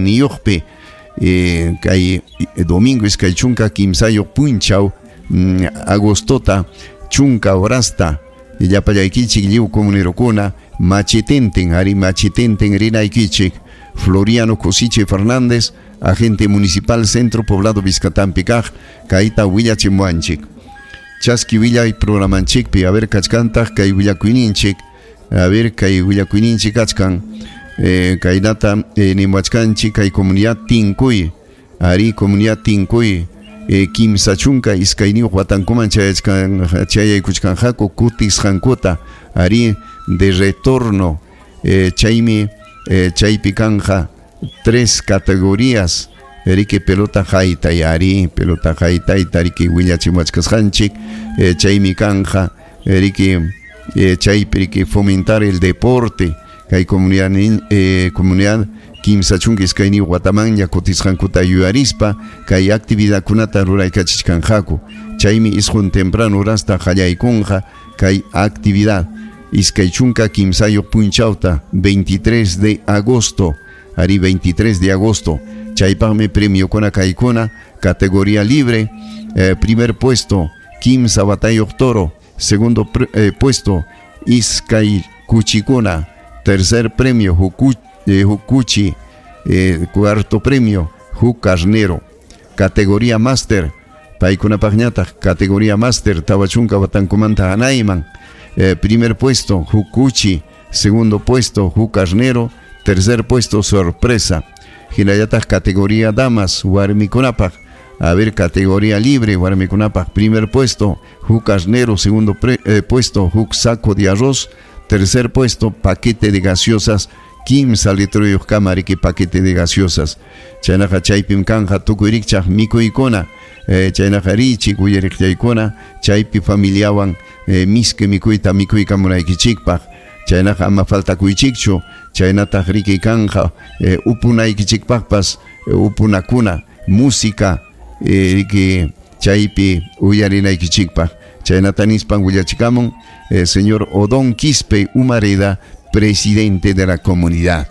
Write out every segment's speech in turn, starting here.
yanayniyuqpi kay domingo 23 punchaw agostota 10 horasta llapallaykichik lliw comunerokuna machetenten ari machetenten rinaykichik. Floriano Cosiche Fernández, agente municipal Centro Poblado Vizcatampi kaq, kayta willachimuwanchik. Chaski willay programanchikpi, a ver kachkantaq kay willakuyninchik, a ver kay willakuyninchik kachkan, kaynata nimuwachkanchik kay comunidad Tinkuy, ari comunidad Tinkuy, 32 watankuman chayaykuchkanqaku kutisqankuta, ari de retorno, chaymi chaypi kanja 3 categorías, riki pelota haytay, ari pelota haytayta riki willachimuwachkasqanchik, chaymi kanja riki chaypi riki fomentar el deporte kay comunidad comunidad 32 watamanña kutisqankuta yuyarispa kay actividadkunata ruraykachichkanqaku, chaymi isqun temprano horasta qallaykunqa kay actividad 23 punchawta 23 de agosto, ari 23 de agosto, chaypaqmi premiokuna kaykuna categoría libre, primer puesto 15 watayuq toro, segundo puesto iskay kuchikuna, tercer premio hukuchi, cuarto premio huk carnero, categoría máster paykunapaqñataq categoría máster 40 watankumanta hanayman, primer puesto hukuchi, segundo puesto huk carnero, tercer puesto sorpresa. Hinallataq categoría damas warmikunapaq, a ver categoría libre warmikunapaq, primer puesto huk carnero, segundo puesto huk saco de arroz, tercer puesto paquete de gaseosas 15 litroyuq kama riki paquete de gaseosas. Chaynaqa chaypim kanja tukuy rikchaq mikuykuna, chaynaqa richik uyariqllaykuna chaypi familiawan miski mikuyta mikuykamunaykichikpaq, chaynaqa ama faltakuychikchu, chaynataq riki kanja upunaykichikpaqpas upunakuna música riki chaypi uyarinaykichikpaq. Chaynata nispan willachikamun señor Odón Quispe Humareda, presidente de la comunidad.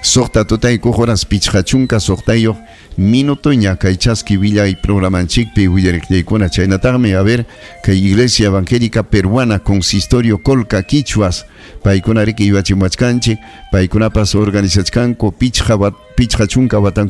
6 tutaykuq horas 56 minutoña kay chaski willay programanchikpi willariqllaykuna. Chaynataqmi a ver kay Iglesia Evangélica Peruana Consistorio Colca Quichuas paykuna riki yuyachimuwachkanchik, paykunapas organizachkanku 50 watanku